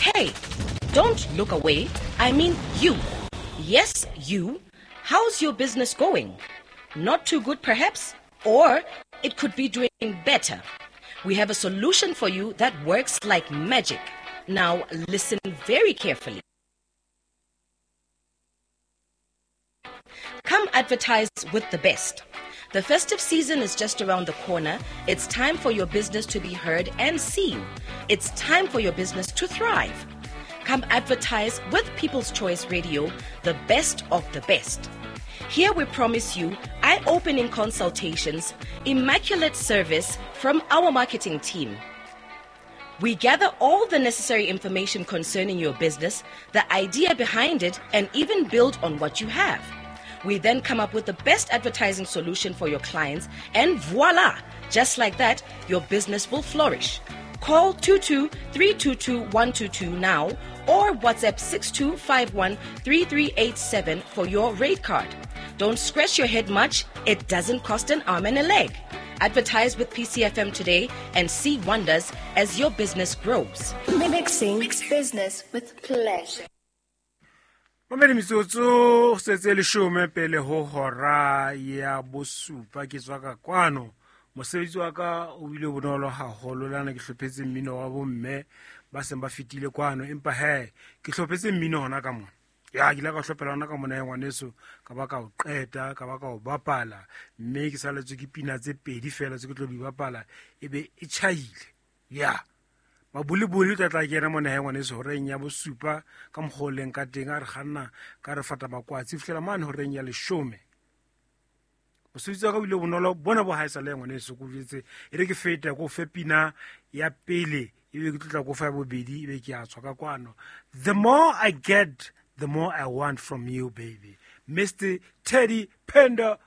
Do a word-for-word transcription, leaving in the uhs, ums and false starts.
Hey, don't look away. I mean you. Yes, you. How's your business going? Not too good, perhaps? Or it could be doing better. We have a solution for you that works like magic. Now, listen very carefully. Come advertise with the best. The festive season is just around the corner. It's time for your business to be heard and seen. It's time for your business to thrive. Come advertise with People's Choice Radio, the best of the best. Here we promise you eye-opening consultations, immaculate service from our marketing team. We gather all the necessary information concerning your business, the idea behind it, and even build on what you have. We then come up with the best advertising solution for your clients, and voila! Just like that, your business will flourish. Call two two three two two one two two now or WhatsApp six two five one three three eight seven for your rate card. Don't scratch your head much. It doesn't cost an arm and a leg. Advertise with P C F M today and see wonders as your business grows. Mixing business with pleasure. Mamedi metsotso setse leshome pele ho hora ya bosupa ke tswa ka kwano. Mosebetsi wa ka o bile bonolo haholo lana ke hlophetse mmino wa bomme ba seng ba fetile kwano, empa he ke hlophetse mmino hona ka mona. Ya ke ile ka hlophela hona ka mona ya ngwaneso, ka ba ka o qeta, ka ba ka o bapala, mme ke saletswe ke pina tse pedi fela tse ke tlo di bapala ebe e tjhaile. Ya maboliboli tla tla kena mona ya ngwaneso horeng ya bosupa ka mokgwa o leng ka teng, a re kganna ka re fata makwatsi fihlela mane horeng ya leshome. Mosebetsi wa ka o ile bonolo bona bo haesale ya ngwaneso, ko jwetse e re ke feta ko fe pina ya pele ebe ke tlotla ko fa ya bobedi ebe ke a tswa ka kwano. The more I get, the more I want from you, baby. Mister Teddy Pendergrass.